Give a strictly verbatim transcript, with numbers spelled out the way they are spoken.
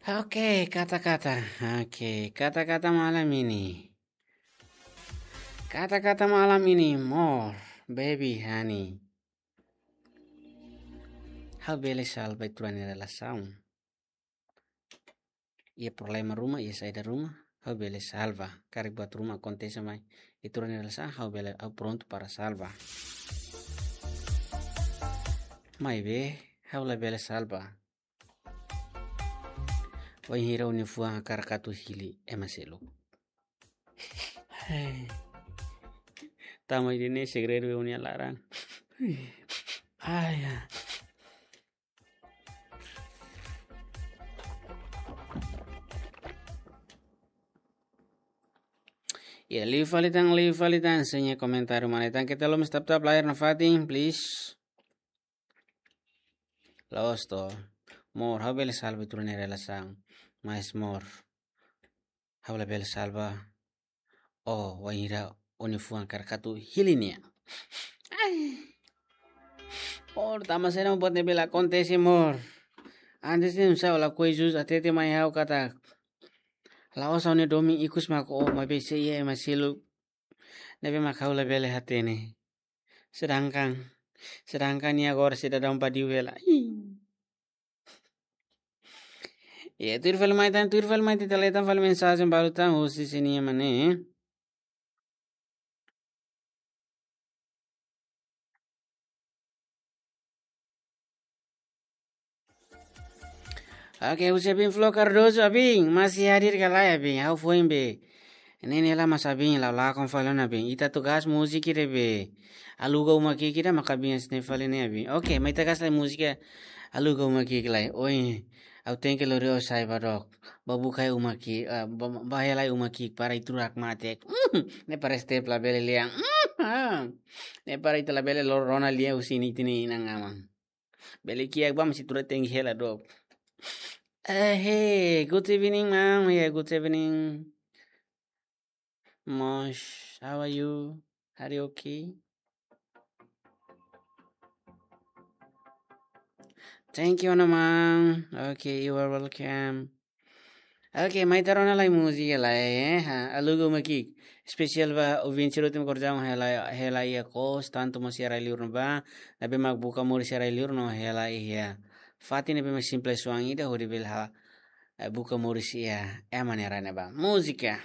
Oke, kata-kata. Oke, kata-kata malam ini. Kata-kata malam ini, more, baby, honey. Ha'u bele salva ita-nia relasaun. Iha problema ruma, iha saida ruma, ha'u bele salva. Karik buat ruma akontese mai ita-nia relasaun, ha'u bele, ha'u prontu para salva. Maibé, ha'u la bele salva. Wainhira ó-nia fuan hakarak atu hili ema seluk. Hei. Tama ida-ne'e segredu iha ó-nia laran. Ai, ya. Ya, liu fali tan, liu fali tan, sira-nia komentáriu mana tan, keta haluha tap-tap layar nafatin, please. La'ós to. More, ha'u bele salva ita-nia relasaun. Mas more, ha'u la bele salva. Oh, wainhira ó-nia fuan hakarak atu hili nia. Ai. More, tanba saida mak buat ne'e bele akontese, more? Antes ne'e sá ó lakohi jus hatete mai ha'u katak la'ós ha'u-nia domin ikus mak ó, maibé sei iha ema seluk ne'ebé mak ha'u la bele hatene. Sedangkan, sedangkan nia agora sidadaun badiu hela. Ih. Ya, tuir fali mai tan, tuir fali mai tan, ita lee tan fali mensajen balu tan, husi sira-nia mane. Oke, husi Abin Flo Cardoso, Abin, masih hadir ka lae, Abin? Ha'u foin be. Ne'e ne'e la mas Abin, la lakon fali ona, Abin. Ita atu gas múzika ida be. Aluga uma ki'ik ida maka Abin hanesan ne'e fali ne'e, Abin. Oke, mai ita gas lai múzika Aluga uma ki'ik lai. Oi, ha'u tenke lori ó sai ba dook. Ba buka uma ki'ik, ah, ba, ba hela uma ki'ik para ita-rua hakmatek. Mm, ne'e para step labele lian. Mm, ah. Ne'e para ita labele lo-, rona lian husi ita-nia inan-aman. Bele kiak ba mós ita-rua tenke hela dook. Eh, hey, good evening, ma'am. Yeah, good evening. Mosh, how are you? Are you okay? Thank you, Ana, ma'am. Okay, you are welcome. Oke, mai ita rona lai múzika lai, eh. Ha, Aluga uma ki'ik. Espesiál ba ouvinte sira hotu mak kordau hela, hela iha kos, tantu mós iha rai-liur ne'ebá. Ne'ebé mak buka moris iha rai-liur no hela iha fatin ne'ebé mak simples oan ida hodi bele ha, eh, buka moris iha ema nia rai ne'ebá. Múzika.